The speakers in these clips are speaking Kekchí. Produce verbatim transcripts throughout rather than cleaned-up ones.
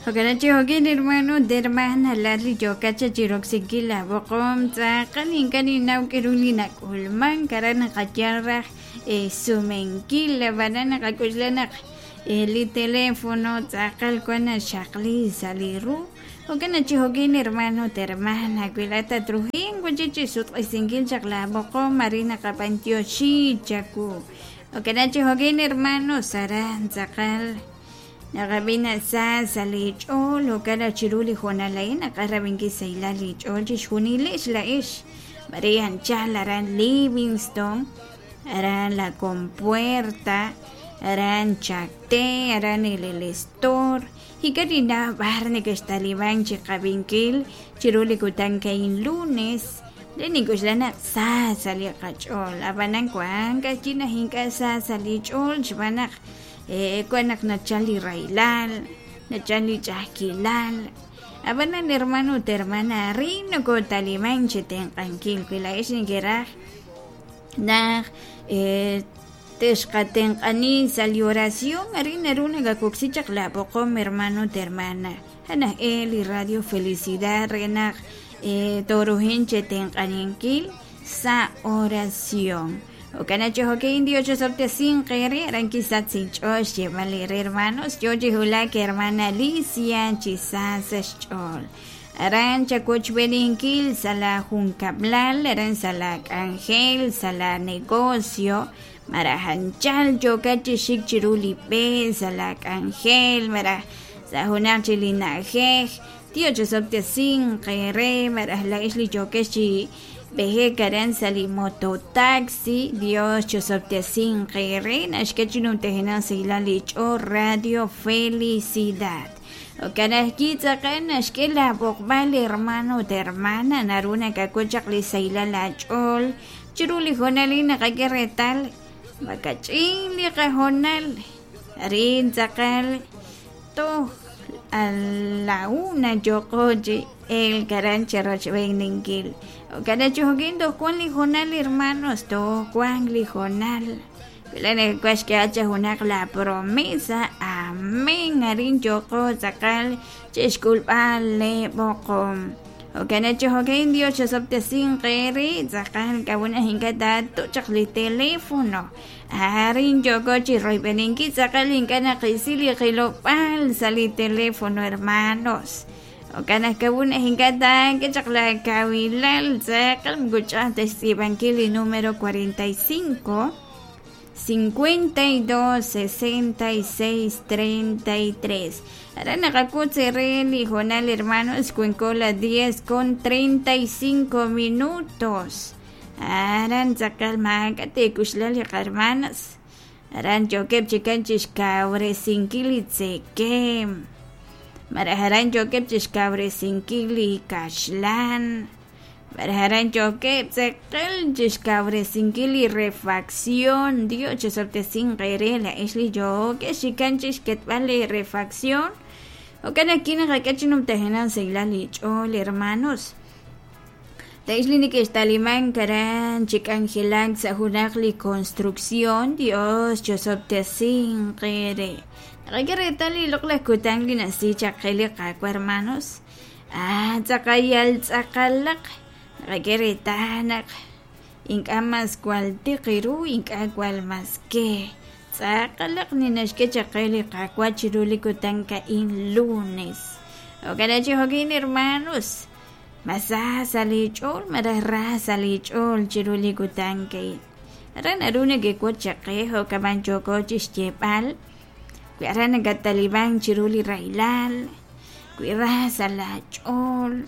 Jo'kan chi jo'kin hermano ut hermana laat li yookat cha chiroksinkil la b'oqom tz'aqal ink'a' ninnaw k'aru li nak'ulman aran naqayal raj sumenkil ab'anan naqak'uxla naq li teléfono tz'aqal wan naxaqli sa' li ru. Jo'kan chi jo'kin hermano ut hermana wi laat tatrujenq chi chisutq'isinkil chaq la b'oqom arin naqab'antioxi chawu. Jo'kan chi jo'kin hermanos aran tz'aqal naqab'ina sa sa' li ch'ool jo'kan chiru li hoonal a'in naqarab'inkil sahilal li ch'ool chixjunilex la'ex Maria anchal aran Livingston aran La Compuerta aran Chacté aran el El Estor ink'a' b'ar neke'xtaliban chiqab'inkil chiru li kutan ka'in lunes re nink'uxla naq sa sa' li qach'ool ab'anan wan k'a'chi naj ink'a' sa sa' li ch'ool xb'aan naq wan naq nachal li rahilal nachal li ch'a'ajkilal ab'anan hermano ut hermana arin nokotaliman chi tenq'ankil wi la'ex nekeraj naq texqatenq'ani sa' li oración arin naru nakakoksi chaq la b'oqom hermano ut hermana janaj e li Radio Felicidad re naq torujen che tenq'aninkil sa' oración. Jo'kan chi jo'kin Dios chosoptesin qere aran kisat sinch'ool xyeeb'al re hermanos yo chi wulak hermana Alicia chi sa sa' xch'ool aran chakochb'eninkil sa' la junkab'lal aran sa' la k'anjel sa' la negocio maraj anchal yookat chi xik chiru li b'e sa' la k'anjel maraj sa' junaq chi li na'ajej Dios chosoptesin qere maraj la'ex li yookex chi b'ejek aran sa' li mototaxi Dios chosoptesin qere naxk'e chi numtajenaq sahilal li ch'ool Radio Felicidad. Jo'kan ajwi' tz'aqal naxk'e la b'oqb'al hermano ut hermana naru nakak'ul chaq li sahilal aach'ool chiru li hoonal a'in naqak'e reetal makach'in li qahoonal arin tz'aqal toj a la una yooqo chi elk aran chirochb'eninkil. Jo'kan chi jo'kin toj wan li hoonal hermanos toj wan li hoonal wi nakak'uaj xk'eeb'al cha junaq la promesa amén arin yooqo tz'aqal chixk'ulb'al le b'oqom. Jo'kan chi jo'kin Dios chosoptesin qere tz'aqal k'a'unaj ink'a' taatu' chaq li teléfono arin yooqo chi royb'eninkil tz'aqal ink'a' naqisi li qilob'al sa' li teléfono hermanos. Jo'kan aj k'a'unaj ink'a' taak'e chaq la kawilal tz'aqal moko ch'a'aj ta xtz'iib'ankil li número cuarenta y cinco cincuenta y dos sesenta y seis treinta y tres. Aran naqak'ut re li hoonal hermanos cuenco las diez con treinta y cinco minutos. Aran tz'aqal maak'a' teek'uxla li qarmanas aran yookeb' chikan chixkawresinkil li tzekem maraj aran yookeb' chixkawresinkil li kaxlan maraj aran yookeb' tz'aqal chixkawresinkil li refacción. Dios chosoptesin qere la'ex li yookeb' xikan chixketb'al li refacción. Jo'kan ajwi' naqak'e chi numtajenaq sahilal li ch'ool hermanos. La'ex li neke'xtaliman aran chi k'anjelak sa' junaq li construcción. Dios chosoptesin qere naqak'e reetal li loq'laj kutan li nasi chaq qe li qaawa' hermanos. Ah tz'aqal yal tz'aqalaq naqak'e reetal naq ink'a' mas wal tiq ru ink'a' wal mas ke tz'aqalaq ninaxk'e chaq qe li qaawa' chiru li kutan ka'in lunes. Jo'kan chi jo'kin hermanos mas sa sa' li ch'ool maraj ra sa' li ch'ool chiru li kutan ka'in aran naru nekek'ut chaq qe jo'kaman yooko chixyeeb'al wi aran nakataliban chiru li rahilal wi ra sa' la ch'ool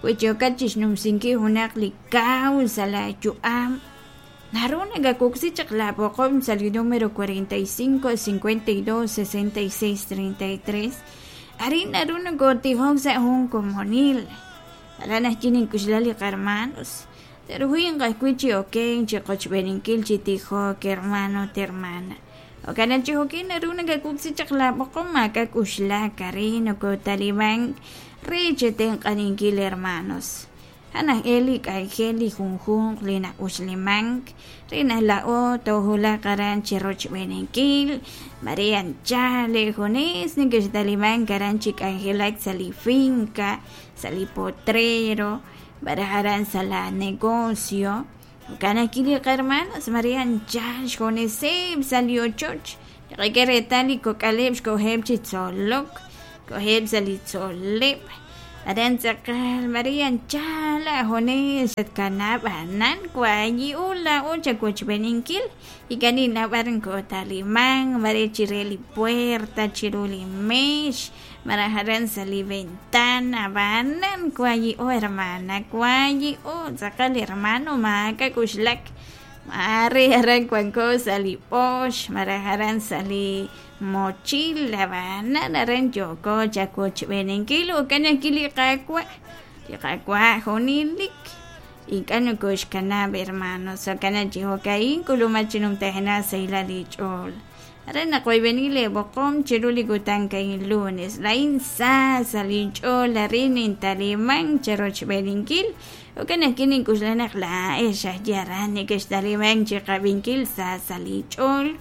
wi yookat chixnumsinkil junaq li kaw sa' la yu'am naru nakakuksi chaq la b'oqom sa' li número cuarenta y cinco cincuenta y dos sesenta y seis treinta y tres arin naru nakotijok sa' jun komonil aran ajwi' nink'uxla li qarmanos terujuy ajwi' chi oken chi qochb'eninkil chi tijok hermano ut hermana. Jo'kan chi jo'kin naru nakakuksi chaq la b'oqom maak'ak'uxlak arin nokotaliban re chetenq'aninkil hermanos. A'an aj e li k'anjel li junjunq li na'uxlimank re naq laa'o toowulaq aran chi rochb'eeninkil mare anchal junes neke'xtalimank aran chi k'anjelak sa' li finca, sa' li potrero, malaj aran sa' la negocio. Jo'kan ajwi' li qahermanos mare anchal xjuneseb' sa' li ochoch naqak'e reetal li kok'aleb' xkoheb' chi tzolok, koheb' sa' li tzol'leb', aran tz'aqal mare anchal aajunes xatkanab' anan wayi'u laa'o chawochb'eeninkil ink'a' ninnaw b'ar kootalimank mare chire li puerta, chiru li meex, malaj aran sa' li ventana, ab'anan wayi'o hermana, wayi'o tz'aqal hermano maak'a' k'uxlak mare aran wanko sa' li b'oox malaj aran sa' li mochila, ab'anan aran yooko chawochb'eeninkil jo'kan ajwi' li Qaawa', li Qaawa' junelik ink'a' nokoxkanab' hermanos, jo'kan naq chi jo'ka'in k'ulumak chi numtajenaq sahilal li ch'ool. Aran naqoyb'eni leeb'oqom chiru li kutan a'in lunes, laa'in sa sa' linch'ool arin nintalimank cherochb'eeninkil, jo'kan ajwi' nink'uxla naq laa'ex ajwi' aran nekextalimank chiqab'inkil sa sa' li ch'ool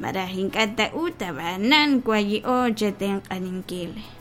malaj ink'a' ta ut ab'anan wayi'o chetenq'aninkil.